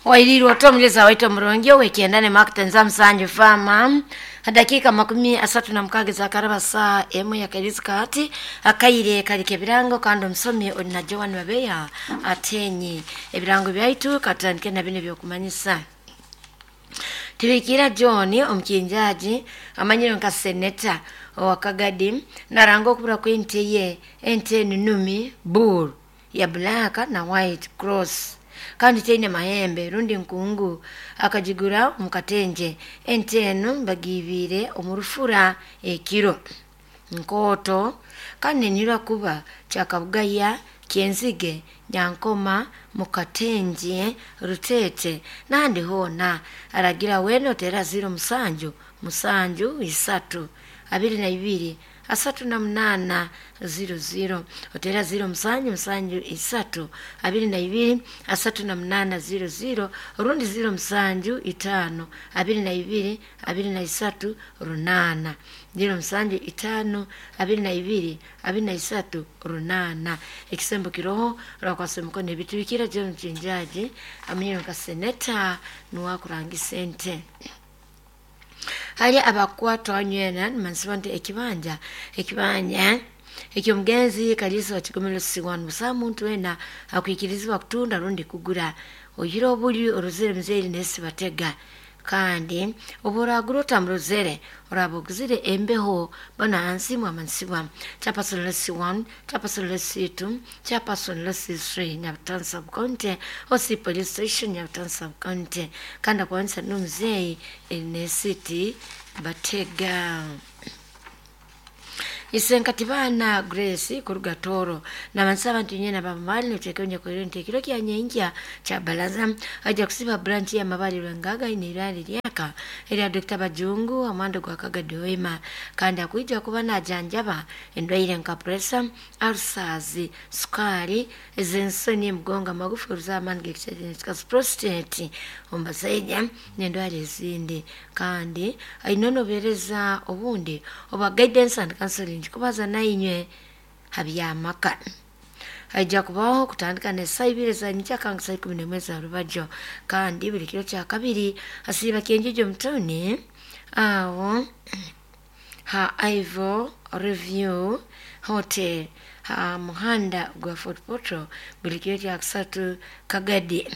Wailirwa otomuleza waitu omurungi ow'ekyenda ne Mark Musanju Farmer, dakika 36 zakaraba saa 1 yakairizi kaati akaire kalika ebirango, kandi omusomi oli na Joan Babeya atenyi ebirango byaitu. Katandike na bino ebyokumanyisa. Tibikira John omukinjaji amanyire nka seneta owa Kagadi naranga okubura kw'ente ye, ente enunumi bull ya black na white cross, kandi teine mahembe rundi nkungu, akagigura omu katenje. Ente enu bagiibire omu rufura ekiro nkooto, kandi nenyirwa kuba Kyakabugaya, Kyenzige, Nyankoma, Mukatenje, Rutete n'ahandi hoona. Aragira weena oteera 07 7 3 22 38 00, oteera 07 7 3 22 38 00, rundi 07 5 22 23 8, 07 5 22 23 8. Ekisembo kiroho rakwasa emikono ebitubikira. John Kinjaji amanyire nka seneta nuwakurangisa ente. Hali abakwatwa nywena nimansiba nti ekibanja ekyomugenzi Kalisa wa Kigomero Siwanu, busaho muntu wena akwikirizibwa kutunda rundi kugura oyire obuli orozere muzeeri nesibatega, kandi obu oragura otamurozere oraba oguzire embeho. Bano hansi mwamansibwa chairperson C1, chairperson C2, chairperson C3, Nyabutansi Sub-County, OC Police Station, Nyabutansi Sub-County, kandi akwanisa n'omuzeeyi nesiti batega. Isenkatibana Grace kuruga Toro nabansaba nti nyena bamali nitekenye kwero nti ekiro kya nyenkya kya balaza ajja kusiba branch ya Mabali Lwengaga ine irali lyaka erya Dr. Bajungu amando gwa Kagadi Wema, kandi akuija kuba najanjaba endwaire nka pressure, ulcers, sukari, ez'ensoni, mugongo, amagufa, oruzamani gekika prostate omubasaija n'endwara ezindi, kandi aine nobereza obundi oba guidance and counseling kubaza nainywe habyamaka. Aija kubaho kutandika nesaa 2 za nkyaka nka saa 11 za rubajo, kandi buli kiro kya kabiri asiiba Kyenjejo mutawuni awo ha Ivo Review Hotel ha muhanda gwa Fort Portal, buli kiro kya kusatu Kagadi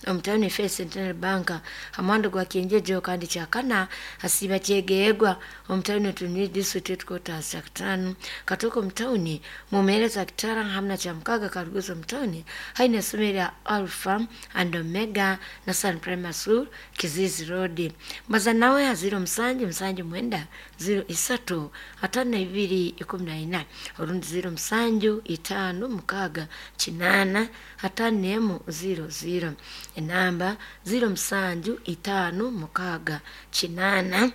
omutawuni First Centenary Bank ha muhanda gwa Kyenjejo, kandi kyakana asiiba Kyegeegwa omutawuni Otunui District Headquarters, kyakutaano Katooke omutawuni mumeereza Kitara hamu na kyamukaga Karuguzo omutawuni haine essomero lya Alpha and Omega na Sun Primary School, Kizizi Road. Mbaza nawe ha 07 7 9 03 52 14, orundi 07 5 6 8 51 00. Enamba 07 5 6 8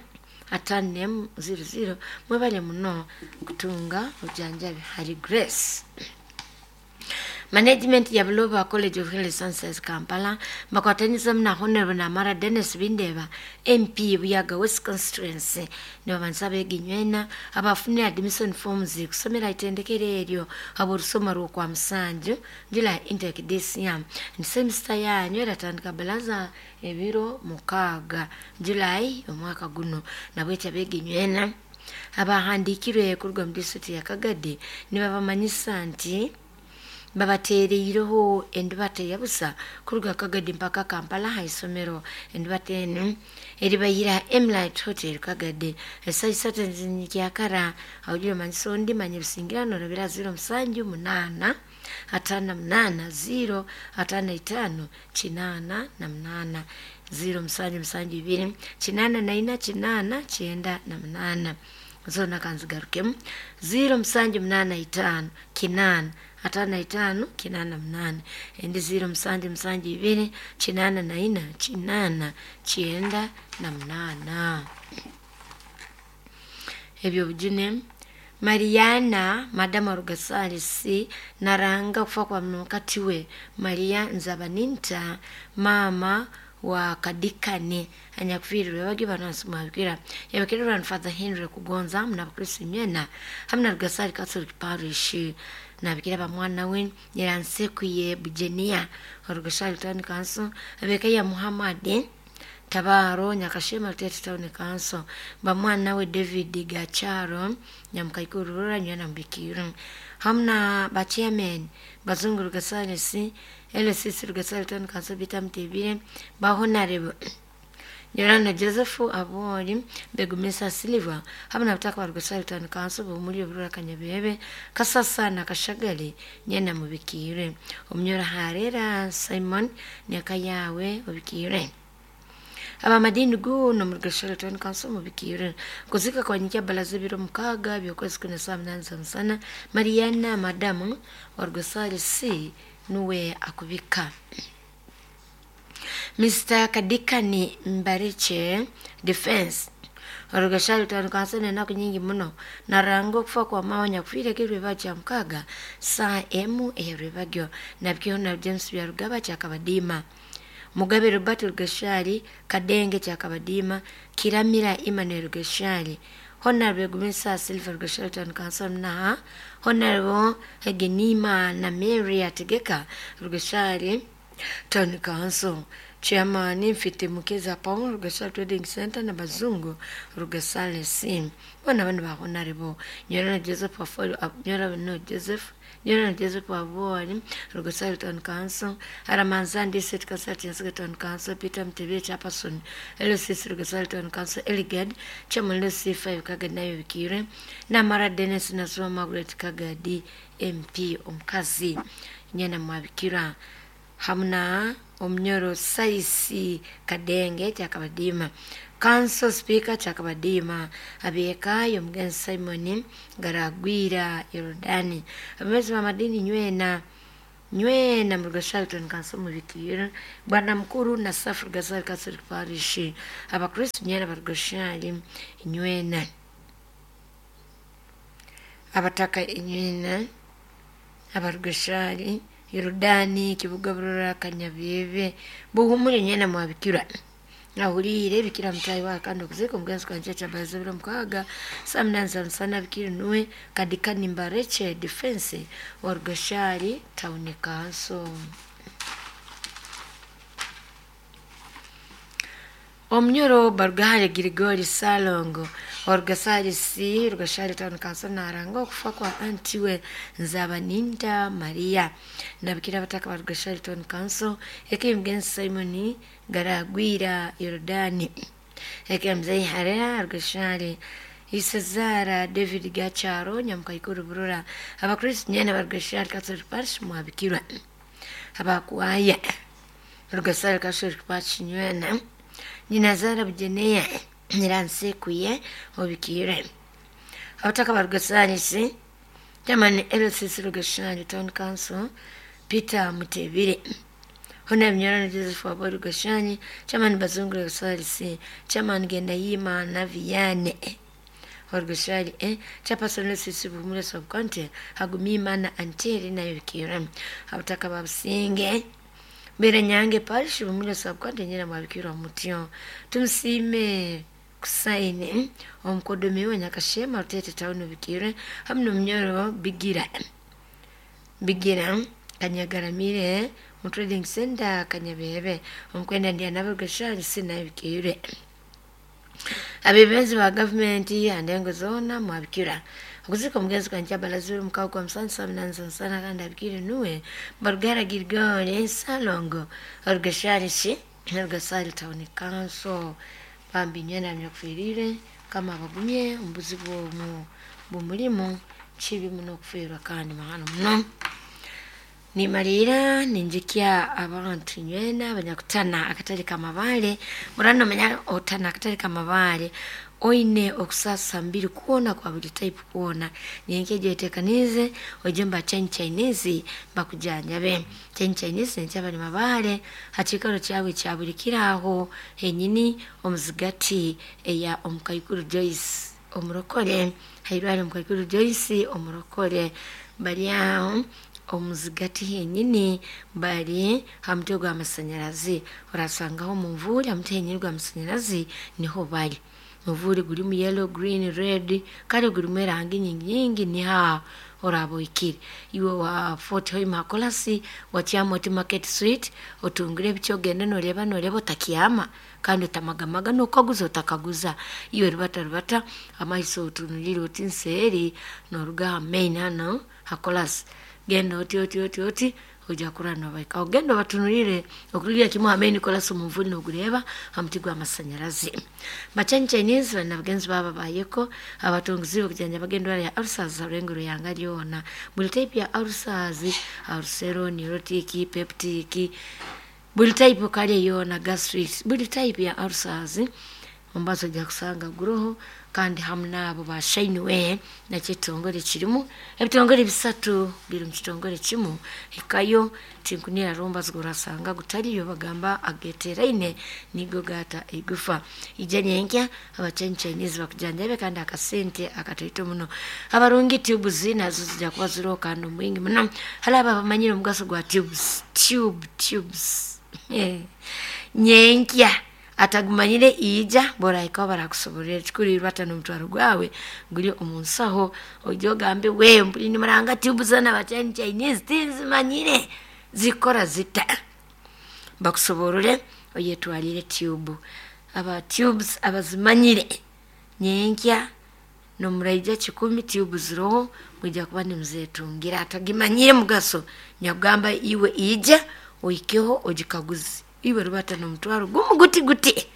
51 00. Mwebale muno kutunga obujanjabi hari Grace. Management ya Buloba College of Health Sciences Kampala bakwataniza na Honorable Namara Dennis Bindeba, MP Buyaga West Constituency, nibabanza abeginywena abafunire admission forms kusomera itendekero eryo aborusoma rwokwa musanju July intake this year, ni semester yanyu eratandika balaza ebiro 6 July omwaka guno. Nabwekyo abeginywena abahandikirwe kuruga mu district ya Kagadi nibabamanyisa nti babateereireho endibata eyabusa kuruga Kagadi mpaka Kampala ha isomero. Endibata enu eribayira Emlight Hotel Kagadi esaa 3 nkyakara. Awugire omanyisa ondi manya ebisingirano orabira 07 8 58 0 55 88, 07 7 2 84 8 98. Zona kanzigarukemu: 07 8 5 8 55 88, endi 07 7 2 84 8 98. Ebyo bujune. Mariana Madama Rugasarisi naranga kufa kwa mukati we Maria Nzabaninta mama. wa Kadikani anyakufiirirwe bagi banansi mwabikira yabikira Reverend Father Henry Kugonza hamwe n'abakristo imyena hamwe na Rugasari Catholic Parish nabikira bamwana we Nyiransekuye Bujenia Rugasari Town Council abeka ya Muhammad Tabaro Nyakashema Rutete Town Council bamwana we David Gacharo Nyamukaikuru Nywena Mbikiru hamna ba chairman Bazungu Rugasari C LCC Rugasari Town Council Peter Mtebire ba honorable Nyorana Joseph Abori Begumisa Silva hamwe na butaka ba Rugasari Town Council bumuri burura Kanyabebe Kasasa na Kashagali nyena mubikire Omunyora Harera Simon Nyakayawe ubikire abamadini guno mu Rugasari Town Council mubikire kuzika kwa nyikia balaze biro mukaga byokwezi kuna saa 8 za msana Mariana madamu wa Rugasari C nuwe akubika. Mr. Kadikani Mbariche Defense Rugasari Town Council enaku nyingi muno naranga okufa kwa mawa nyakufiire kirweba kya mukaga saa emu ey'erwebagyo nabikihona na James Byarugaba kyakabadiima Mugabe Robert Rugashari Kadenge kyakabadiima Kiramira Emmanuel Rugashari Honorable Gumisa Silver Rugashari Town Council na Honorable Hegenima na Mary Ategeka Rugashari Town Council Chairman Mfite Mukeza Paul Rugasari Trading Center na Bazungu Rugasari C bona bano ba Honorable Nyorana Joseph Afolo Nyorana no Joseph Nyorana Joseph Abori Rugasari Town Council Aramanzandi City Consultancy Town Council Peter Mtebe Chairperson LCC Rugasari Town Council Eligad Chairman LC5 Kagadi nayo bikire na Mara Dennis Naswa Margaret Kagadi MP omukazi nyana mwabikira hamna omunyoro Saisi Kadenge kyakabadiima Council Speaker kyakabadiima abeekayo omugenzi Simon Garagwira Yorodani abemezi b'amadini nywena nywena mu Rugasari Town Council mubikira bwana mukuru na Safu Rugasari Catholic Parish abakristo nywena barugashari nywena abataka nywena abarugashari Yorodani kibuga burora Kanyabebe buhumure nyena mwabikira ahurire bikira mtayi wa kandi okuzika omugenzi kwanje kyabaza biro mukaga saa 8 za msana bikiri nuwe Kadikani Mbareche Defense wa Rugashari Town Council. Omunyoro Barugahare Girigori Salongo wa Rugasari C Rugashari Town Council naranga okufa kwa anti we Nzabaninda Maria nabikira abataka ba Rugashari Town Council eke mugenzi Simon Garagwira Yorodani eke mzei Harera Rugashari Isazara David Gacharo Nyamukaikuru Burura abakristo nyene ba Rugashari Catholic Parish mwabikirwa abakwaya Rugasari Catholic Parish nywena Nyinazara Bujeneya Nyiransekuye obikire abataka ba Rugasari C Chairman LCC Rugashari Town Council Peter Mutebire Honorable Nyorana Joseph Wabo Rugashari Chairman Bazungu Rugasari C Chairman Gendayima na Viane Rugashari E Chairperson LCC Bumule Sub County Hagumima na Anteri nayo bikire abataka ba Businge Mbere Nyange Parish Bumule Sub County nyina mwabikirwa mutyo tumusime kusaini omukodomi we Nyakashema Rutete Town bikire hamwe n'omunyoro Bigira Bigira Kanyagaramire mu Trading Center Kanyabebe omukwenda ndi anabugasha sina bikire abebenzi ba gavumenti andengo zona mwabikira okuzika omugenzi kwanje balazuru mukago kwa musanzu 8 sana kandi abikire nuwe Barugara Girigori Salongo Rugashari C Rugasari Town Council bambi nyena myakufirire kama abagumye ombuzi bwomu bumulimu kibi muno okufiirwa kandi mahano muno nimalira ninjikya abantu nywena abanyakutana akatale kamabale murano menya otana akatale kamabale oine okusasa mbiri kuona kwa buli type kuona nyenkeje etekanize ojemba chen Chinese bakujanjabe chen Chinese nkyabali mabale hakikalo kyawe kyabulikiraho henyini omuzigati eya omukaikuru Joyce omurokole hairwale omukaikuru Joyce omurokole bali aho Omuzigati henyini bari ha mutwe gw'amasanyarazi, orasangaho omunvuuri ha mutwe henyini gw'amasanyarazi niho bari. Omuvuuri gurimu yellow, green, red kare gurimu erangi nyingi nyingi niho aho oraaba ohikire. Iwe wa Fort Hoima Kolasi watyama oti Market Street otungire ebiki ogende noreeba noreeba otakyama kandi otamagamaga n'okukaguza otakaguza. Iwe rubata rubata amaiso otunulire oti nseeri noruga aha main hanu ha Kolasi genda oti oti oti oti oija kurora nobahikaho. Genda obatunulire okurugira kimu ha main Kolasi omunvuuri nogureeba ha muti gw'amasanyarazi. Bachan Chinese bari na bagenzi baabo abayeko abatungiziibwe okujanjabaga endwara ya ulcers ha rurengo rw'ihanga ryona. Buri type ya ulcers, ulcero, neurotic, peptic, buri type kare yoona gastric, buri type ya ulcers omubazi oija kusanga guroho kandi hamu n'abo ba Shineway nakyo ekitongore kirimu. Ebitongore bisatu biri omu kitongore kimu, hikayo tinkunira haroho omubazi ogworasanga gutariyo bagamba ageteraine nigo gaata eigufa. Ija nyenkya aba Chinese bakujanjabe kandi akasente akataito muno. Abarungi tubes nazo zija kuba ziroho kandi omwingi muno. Hali abo abamanyire omugaso gwa tubes, tube, tubes nyenkya atagumanyire ija bworahikaho barakusoborera ekikuru rubata n'omutwaro gwawe guri omu nsaho oije ogambe we mpuri nimuranga tube zoona aba Chinese tinzimanyire zikora zita. Bakusoborore oyetwarire tube. Aba tubes abazimanyire nyenkya nomuraija 10 tube ziroho mwija kuba nimuzetungira. Atagimanyire mugaso nyakugamba iwe ija ohikeho ogikaguze. Iwe rubata n'omutwaro gumu guti guti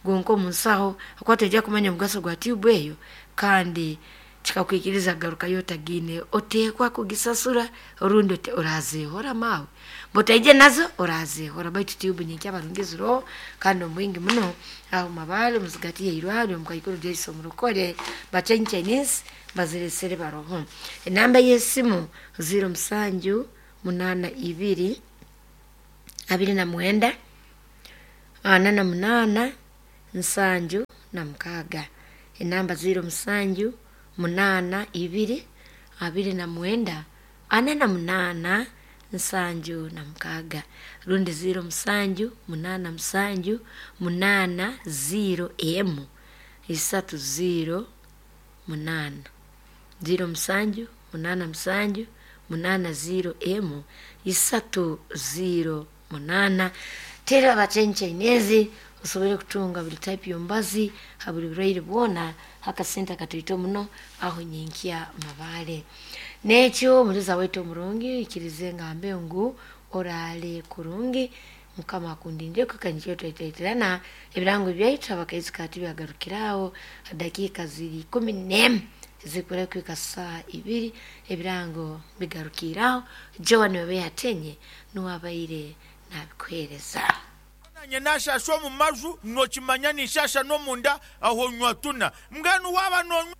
gonka omu nsaho ahakuba toija kumanya omugaso gwa tube eyo kandi kikakwikiriza kugarukayo otagiine. Oteekwa kugisasura orundi orazeehora maawe. Bw'otaija nazo orazeehora baitu tube nyenkya abarungi ziroho kandi omwingi muno aho Mabaale omuzigati y'eirwariro omukaikuru Joyce Omurokore ba Chinese baziresere baroho. Enamba y'esimu 07 82 29 48 76. Enamba 07 82 29 48 76 rundi 07 87 8 0 emu 3 0 8 07 87 8 0 emu 3 0 8. Tera aba Chinese osobole kutunga buri type y'omubazi ha buri burwaire bwona akasente akataito muno aho nyenkya Mabaale. N'ekyo omuliza waitu omurungi ikirize ngambe ngu oraale kurungi Mukama akundindire kuhika twetaitirana ebirango byaitu abakaizi kati byagarukiraho dakiika ziri 11 zikura kuhika saa 2 ebirango bigarukiraho. Joan Wewe nuwabaire nabikuhereza. Nanye nashasha omu maju nokimanya ninshasha n'omunda aho nywa tuna mbwenu waaba nonywa.